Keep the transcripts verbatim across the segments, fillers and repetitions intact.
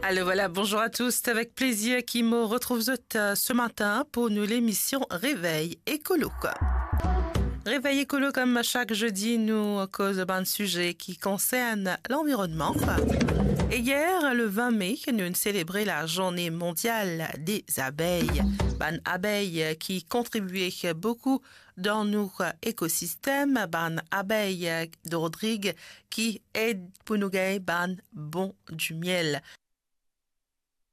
Alors voilà, bonjour à tous. C'est avec plaisir ki mo retrouv zot, euh, ce matin pour nou lemision Réveil Écolo. Réveil Écolo, kouma sak zodi, nou koz bann size ki konsern lanvironnman. E yer, le vingt mai, nou selebre la Journée Mondiale des Abeilles. Bann abey ki kontribie boukou dan nou ekosistem, bann abey dordrig ki ed pou nou gagn bann bon dimiel.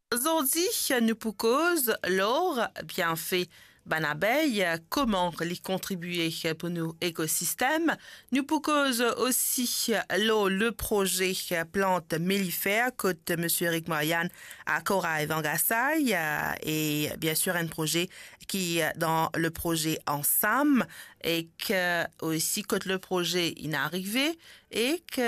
Zordi, nou pou koz lor bienfe bann abey, kouma li kontribie pou nou ekosistem. Nou pou koz osi lor le proze plant mellifer kot Misie Eric Marianne akor ariv an Gasay, e biensir enn proze ki dan le proze Ansam, ek osi kot le proze inn arive, ek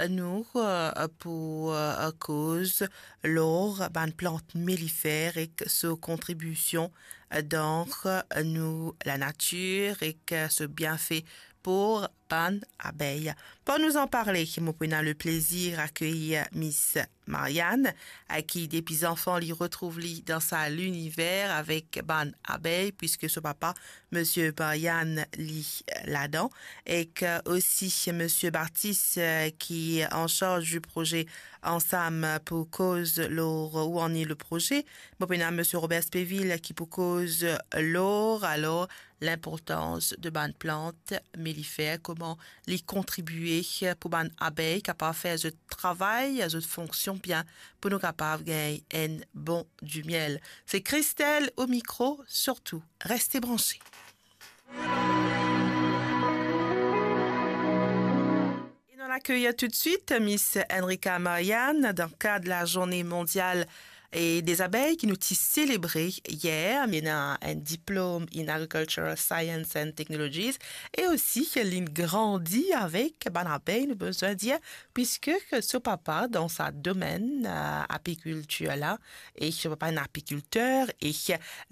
nou, euh, pou, euh, koz lor bann plant mellifer ek so kontribision dan nou lanatir ek so bienfe pou bann abey. Pou nou anparle, mo pou ena le plezir akeyir Miss Marianne, euh, ki depi zanfan li retrouv li dan sa liniver avek bann abey, piske so papa, Misie Marianne, li, euh, ladan, ek osi Misie Baptiste, euh, ki an sarz di proze Ansam pou koz lor ou anni le proze. Mo pou ena Misie Robert Spéville ki pou koz lor, alor, linportans de bann plant mellifer, kouma li kontribie pou bann abey kapav fer zot travay, zot fonksion bien, pou nou kapav gagn enn bon dimiel. Se Christelle o mikro, sirtou, reste branche. E nou al akeyir toutswit Miss Enrica Marianne dan kad la Journée Mondiale et des Abeilles ki nou ti selebre yer. Li ena enn diplom in Agricultural Science and Technologies e osi li grandi avek bann abey, nou bizin dir, piske so papa dan sa domenn, euh, apikiltir la, e so papa enn apikilter, e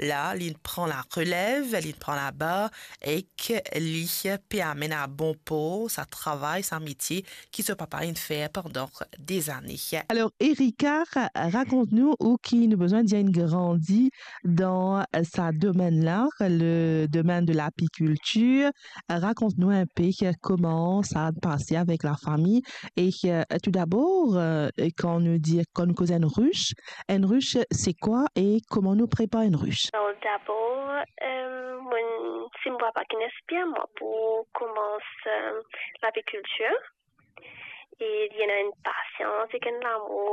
la, li pran la relev, li pran laba, ek li pe amenn a bon por sa travay, sa metie ki so papa inn fer pandan dezane. Alor, Erika, rakont nou ou ki nou bizin dir inn grandi dan sa domenn la, le domenn de lapikiltir. Rakont nou inpe kouma sa pase avek lafami. E, euh, tou dabor, euh, kan nou dir, kan nou koz enn ris, enn ris, se kwa e kouma nou prepar enn ris? Alor, dabor, euh, mwa, se mo papa ki inspir mwa pou koumans, euh, lapikiltir. E li ena enn pasians ek enn lamour